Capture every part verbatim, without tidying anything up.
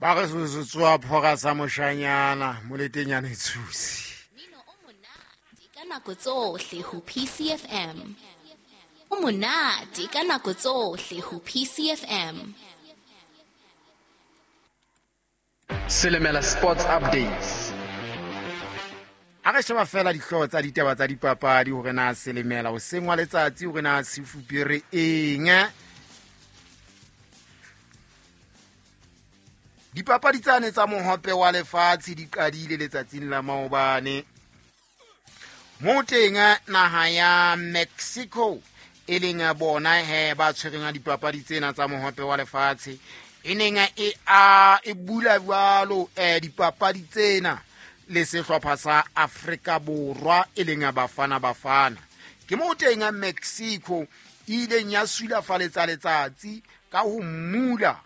Ba re se tsoa phora sa moshanyana moletenyana e tshusi. Mmino o monate ka nako tsohle ho P C F M. O monate ka nako tsohle ho P C F M. Selemela Sports Updates. A re sheba fela dihlooho tsa ditaba tsa dipapadi hore na Selemela o sengwa letsatsi hore na se fupere eng. Dipapadi tsane tsa mohope wa lefatshe di qadile letsatsing la maobane. Mo teng naha ya Mexico e leng bona he ba tshwereng dipapadi tsena tsa mohope wa lefatshe e neng e a e bula jwalo eh dipapadi tsena le sehlopha sa Afrika Borwa e leng Bafana Bafana. Ke mo teng Mexico e ileng ya sulafaletsa letsatsi ka ho mula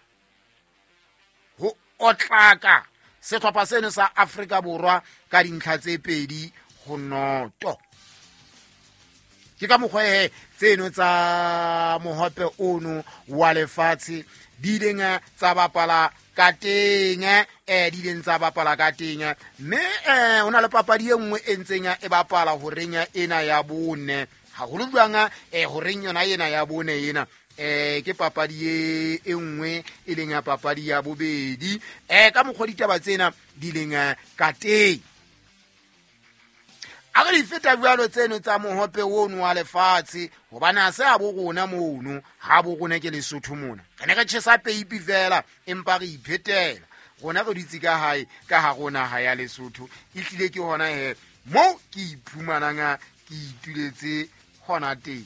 ho otlaka sehlopha seno sa Afrika Borwa ka dintlha tse pedi ho noto. Ke ka mokgwa he tseno tsa mohope ono wa lefatshe di ileng tsa bapala ka teng eh di ileng tsa bapala ka teng mme eh hona le papadi e nngwe e ntseng e bapala horeng ena ya bone haholo jwang eh horeng yona ena ya bone ena eh ke papadi e e nngwe e leng ya papadi ya bobedi eh ka mokgwa ditaba tsena di leng ka teng. A re di feta jwalo tseno tsa mohope ono wa lefatshe hobane ha se a bo rona mono ha bo rona ke Lesotho mona re ne re tjhesa peipi fela empa re iphetela rona re dutse ka hae ka ha rona ha ya Lesotho e hlile ke hona he mo ke iphumanang ke ituletse hona teng.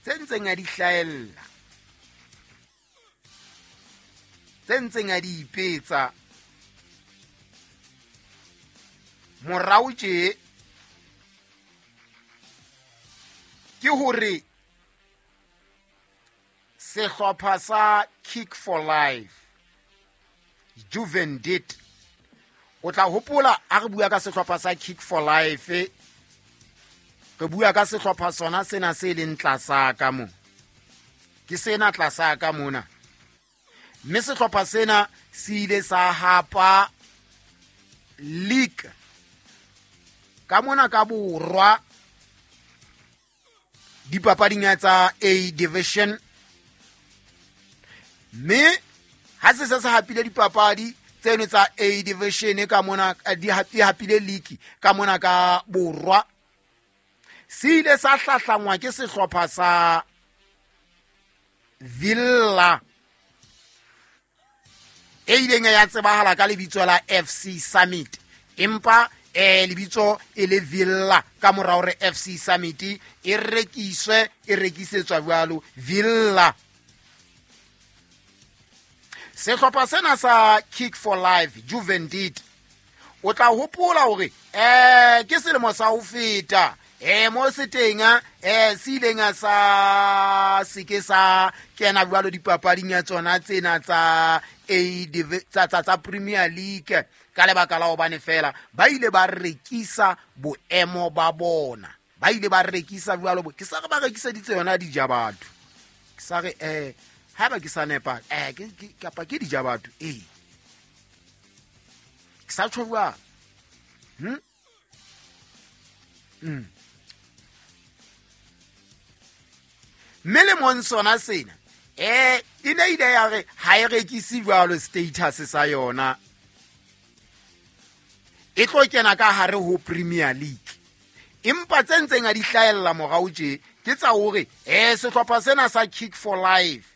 Tse ntseng a di hlahella tse ntseng a di ipetsa morao tje ke hore sehlopha sa Kick for Life Juvendit o tla hopola a re bua ka sehlopha sa Kick for Life re bua ka sehlopha sona sena se leng tlasa ka mo ke sena tlasa ka mona mme sehlopha sena se ile sa hapa league ka mona ka borwa dipapading tsa A division mme ha se se se hapile dipapadi tseno tsa A division ka mona di hapile league ka mona ka borwa se ile sa hlahlangwa ke sehlopha sa Villa e ileng ya tsebahala ka lebitso la F C Summit empa eh lebitso e le Villa ka mora hore F C Summit e rekiswe e rekisetswa jwalo Villa. Sehlopha sena sa Kick for Life Juvendit o tla hopola hore eh ke selemo sa ho feta eh mo se teng eh se ileng sa se ke sa kena jwalo dipapading ya tsona tsena tsa A tsa tsa tsa Premier League ka lebaka la hobane fela ba ile ba rekisa boemo ba bona ba ile ba rekisa jwalo ke sa re ba rekiseditse yona dijabatho ke sa re eh ha ba ke sa nepa eh ke kapa ke dijabatho eh ke sa tjho jwang hm mm mme le mong sona sena eh e ne ile ya re ha e rekise jwalo status sa yona e tlo kena ka hare ho Premier League empa tse ntseng a di hlahella morao tje ke tsa hore eh sehlopha sena sa Kick for Life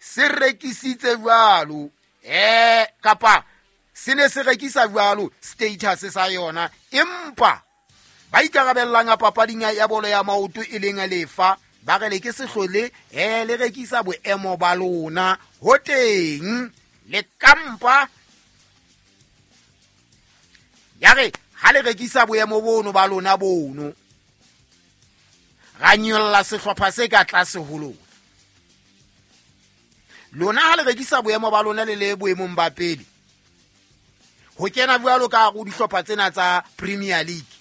se rekisitse jwalo eh kapa se ne se rekisa jwalo status sa yona empa ba ikarabellang papading ya bolo ya maoto e leng lefa ba re le ke sehlole eh le rekisa boemo ba lona ho teng le kampa ya re ha le rekisa boemo bono ba lona bono ra nyolla sehlopha se ka tlase ho lona lona ha le rekisa boemo ba lona le le boemong ba pele ho kena jwalo ka go dihlopha tsena tsa Premier League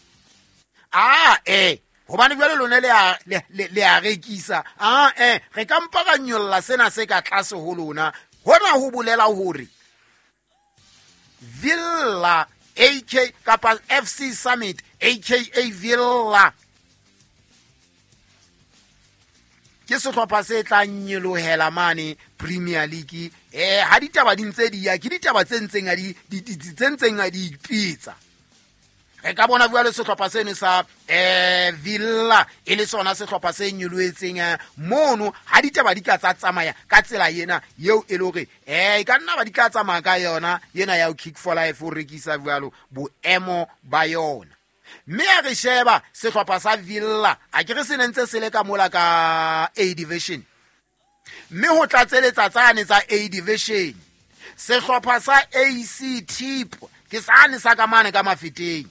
A eh hobane jwale lona le a le a rekisa, a eh re ka mpa ra nyolla sena se ka tlase ho lona. Hona ho bolela hore Villa A K kapa F C Summit A K A Villa ke sehlopha se tla nyolohela mane Premier League. Eh ha ditaba di ntse di ya, ke ditaba tse ntseng a di tse ntseng a di ipitsa. Re ka bona jwale sehlopha seno sa eh Villa e le sona sehlopha se nyolohetseng mono. Ha ditaba di ka tsa tsamaya ka tsela ena eo e le hore eh e ka nna ba di tla tsamaya ka yona ena ya Kick for Life o rekisa jwalo boemo ba yona. Mme a re sheba sehlopha sa Villa a ke re se ntse se le ka mola ka A division, mme ho tlatseletsa tsane tsa A division sehlopha sa A C Tip ke sane sa ka mane ka mafeteng.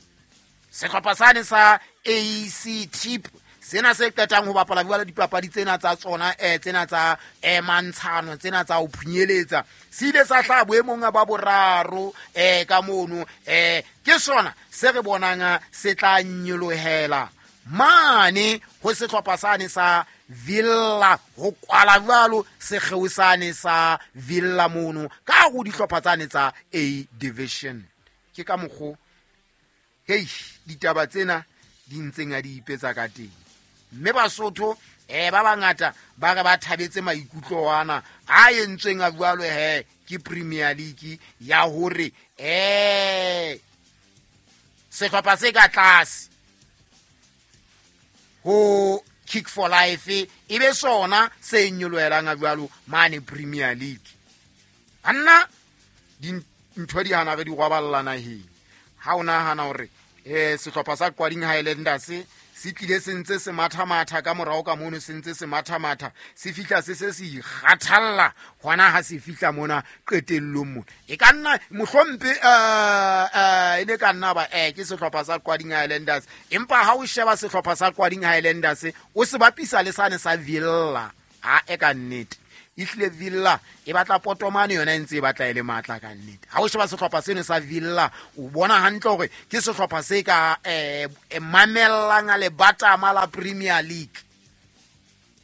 Sehlopha sane sa A C Tip sena se qetang ho bapala jwale dipapadi tsena tsa tsona eh tsena tsa eh mantshano tsena tsa ho phunyeletsa se ile sa hla boemong ba boraro eh ka mono. Eh ke sona se re bonang se tla nyolohela mane ho sehlopha sane sa Villa ho kwala jwalo sekgeo sane sa Villa mono ka ho dihlopha tsane tsa A division. Ke ka mokgo hei ditaba tsena di ntseng a di ipetsa ka teng. Mme Basotho eh ba bangata ba re ba thabetse maikutlo ana a entsweng a jwalo he ke Premier League ya hore eh sehlopha se ka tlase ho Kick for Life e be sona se nyolohelang a jwalo mane Premier League. Anna dintho di hana re di rwaballa naheng. Ha o nahana hore eh sehlopha sa Qwading Highlanders se tlile se ntse se mathamatha ka morao ka mono, se ntse se mathamatha se fihla se se se ikgathalla hona ha se fihla mona qetellong mona. E ka nna mohlompe eh e ne ka nna ba eh ke sehlopha sa Qwading Highlanders, empa ha o sheba sehlopha sa Qwading Highlanders o se bapisa le sane sa Villa, a e ka nnete ehlile Villa e batla potomane yona e ntse e batla e le matla ka nnete. Ha o sheba sehlopha seno sa Villa o bona hantle hore ke sehlopha se ka eh mamellang le batama la Premier League.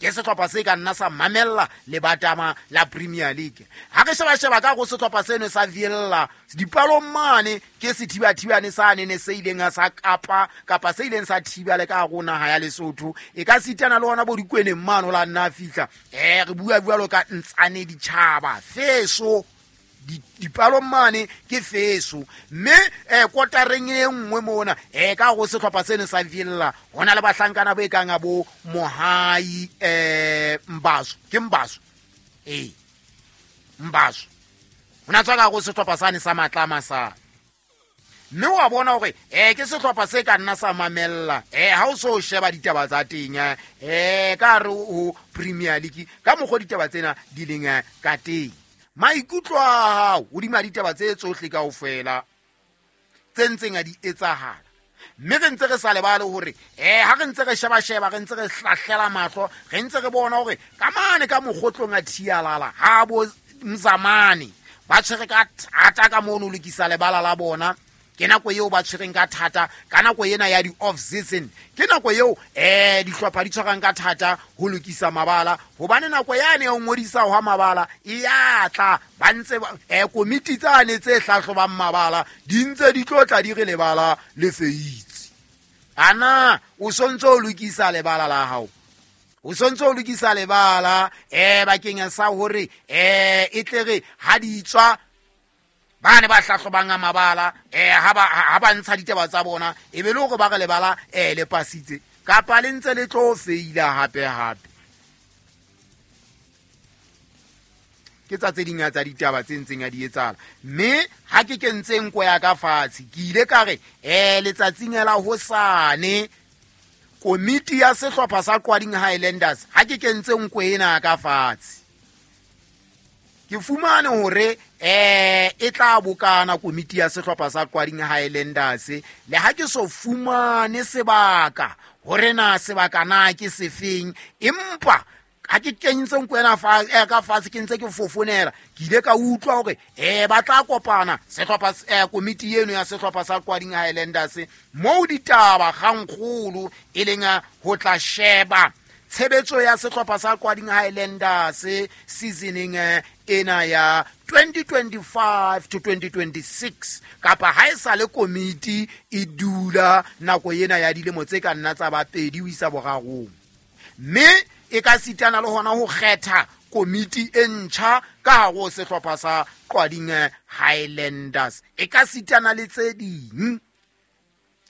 Ke sehlopha se ka nna sa mamella le batama la Premier League. Ha re sheba sheba ka go sehlopha seno sa Villa dipalong mane ke sethibathibane sane ne se ileng sa kapa kapa se ileng sa thiba le ka rona ha ya Lesotho e ka sitana le ona bo dikweneng mane la nna fihla eh re bua jwalo ka ntsane ditjhaba feso dipalong mane ke feso. Mme eh kotareng e nngwe mona eh ka go sehlopha seno sa Villa hona le bahlankana bo e kang bo Mohai eh Mbaso ke Mbaso eh Mbaso hona tswa ka go sehlopha sane sa Matlama sa mme wa bona hore eh ke sehlopha se ka nna sa mamella eh ha o so sheba ditaba tsa teng eh ka re ho Premier League ka mokgo ditaba tsena di leng ka teng. Maikutlo a hao hodima ditaba tse tsohle kaofela tse ntseng a di etsahala. Mme re ntse re sa lebale hore eh ha re ntse re sheba sheba re ntse re hlahlela mahlo re ntse re bona hore ka mane ka mokgotlong a thialala ha bo Mzamane ba tshwere ka thata ka mono lokisa lebala la bona. Ke nako eo ba tshwereng ka thata ka nako ena ya di off season, ke nako eo eh dihlopha di tshwarang ka thata ho lokisa mabala hobane nako yane ya ho ngodisa hwa mabala e ya tla ba ntse eh komiti tsane tse hlahlobang mabala di ntse di tlo tla di re lebala le feitse. Ana o sontse o lokisa lebala la hao, o sontse o lokisa lebala eh bakeng sa hore eh e tle re ha di tswa ba ne ba hlahlobang mabala eh ha ba ha ba ntsha ditaba tsa bona e be le hore ba re lebala eh le pasitse kapa le ntse le tlo feila hape hape. Ke tsa tse ding tsa ditaba tse ntseng a di etsahala. Mme ha ke kentse nko ya ka fatshe ke ile ka re eh letsatsing la hosane komiti ya sehlopha sa Qwading Highlanders ha ke kentse nko ena ka fatshe ke fumane hore eh e tla bokana komiti ya sehlopha sa Qwading Highlanders le ha ke so fumane sebaka hore na sebaka na ke sefeng, empa Ha ke kentse nko ena fa ka fatshe ke ntse ke fofonela ke ile ka utlwa hore eh ba tla kopana sehlopha eh komiti eno ya sehlopha sa Qwading Highlanders moo ditaba kgangkgolo e leng ho tla sheba tshebetso ya sehlopha sa Qwading Highlanders seasoning ena ya twenty twenty-five to twenty twenty-six kapa ha e sa le komiti e dula nako ena ya dilemo tse ka nna tsa ba pedi ho isa borarong mme e ka sitana le hona ho kgetha komiti e ntjha ka hare ho sehlopha sa Qwading Highlanders e ka sitana le tse ding.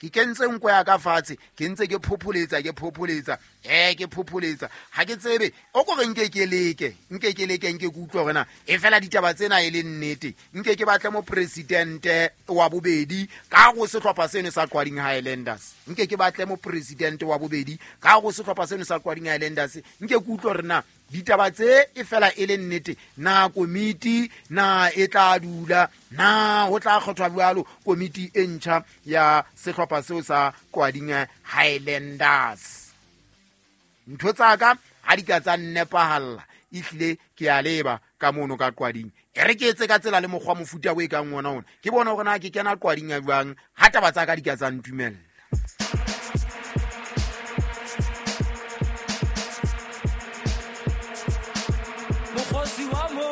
Ke kentse nko ya ka fatshe ke ntse ke phopholetsa ke phopholetsa eh ke phopholetsa ha ke tsebe o ko re nke ke leke nke ke leke nke ke utlwe hore na e fela ditaba tsena e le nnete nke ke batle mo president wa bobedi ka go sehlopha seno sa Qwading Highlanders nke ke batle mo president wa bobedi ka go sehlopha seno sa Qwading Highlanders nke ke utlwe hore na ditaba tse e fela e le nnete na komiti na e tla dula na ho tla kgethwa jwalo komiti e ntjha ya sehlopha seo sa Qwading Highlanders. Ntho tsa ka ha di ka tsa nnepahalla ehlile ke a leba ka mono ka Qwading e re ke etse ka tsela le mokgwa mofuta o e kang ona ona ke bona hore na ke kena Qwading ya jwang ha taba tsa ka di ka tsa ntumella.